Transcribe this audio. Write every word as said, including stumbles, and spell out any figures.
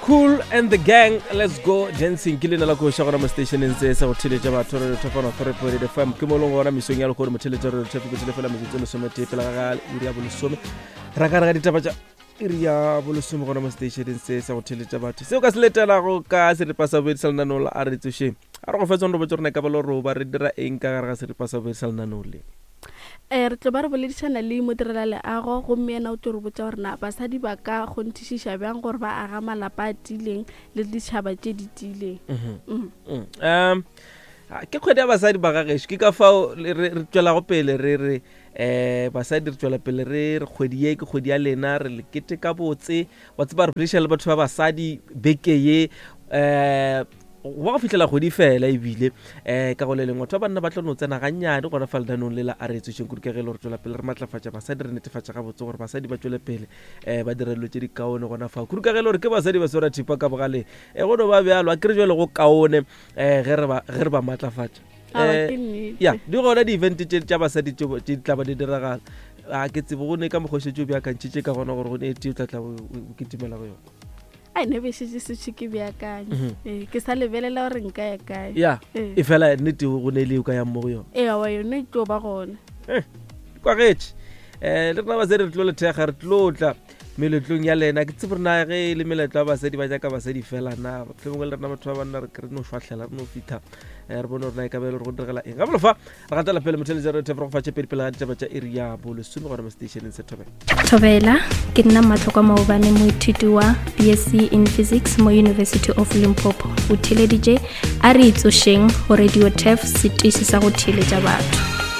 Kool and the Gang, Let's Go Dancing. Ke leina la koša gona mo stationeng se sa go theletša batho, Radio Top one three point eight F M. Ke mo leng gona mesong ya lekgono, motheletša Radio Top, ke fela metsotso e lesometee pele ga iri ya bolesome. Ra ka re ga ditaba tša iri ya bolesome gona mo stationeng se sa go theletša batho. Seo ka se letelago ka seripa sa bobedi sa lenaneo la A Re Tsošeng, a re go fetsa gore botse rona ka ba le roba re dira eng ka gare ga seripa sa bobedi sa lenaneo le. um re tlo ba re boledišana le modirela leago, gomme yena o tlo re botsa gore na basadi ba ka kgonthišiša bjang gore ba aga malapa a tiileng le ditšhaba tše di tiileng. Mm. Mm. um ke kgwedi ya basadi ba gagešo, ke ka fao le- re re tšwelago pele re re um basadi, re tšwela pele re re kgwedi ye ke kgwedi ya lena, re le keteka botse. Wa tseba, re boledišana le batho ba basadi beke ye um go ba go fihlela kgwedi fela, ebile um ka go le lengwe batho ba banna ba tlo no tsena gannyane gona fa lenaneong le la A Re Tsošeng, kudu ka ge e le gore tswela pele re matlafatša basadi, re netefatša gabotse gore basadi ba tšwele pele um ba dira dilo tše di kaone gona fa, kudu ka ge e le gore ke basadi ba swara thipa ka bogaleng. um go no ba bjalo, a kere jale go kaone um ge re ba ge re ba matlafatša. Aowa, Eh, ke nnete. Ya, di gona di-event tše tša basadi tše tše di tla ba di diragala. A ke tsebe go ne ka mokgwa o šetše o beakantšhitše ka gona gore go ne e tee o tla tla o o kitimela go yona. Ai, ne be šetse setse ke beakanye. Mhm. Ee, ke sa lebelela gore nka ya kae. Ya. Ee. E fela nnete go ne le o ka yang mo go yona? Ee, awa, yone e tlo ba gona. Kwagetše um le rena basadi re tlo le thekga, re tlo tla meletlong ya lena. Ke tsebe rena ge e le meletlo ya basadi ba jaaka basadi fela na mohlomongwe le rena batho ba banna re ke re no šwahlela, re no fitlha um re bone gore na e ka be e le gore go diragala eng gabolo fa. Re gatela pele, motheletša re thef re go fa tše pedi pele ga ditaba tša iri ya bolesome gona mo stationeng se Thobela. Thobela, ke nna Matlhokwa Maobane, moithuti wa B S C in Physics mo University of Limpopo. O theleditše A Re Itsošeng go Radio Turf, setiši sa go theeletša batho.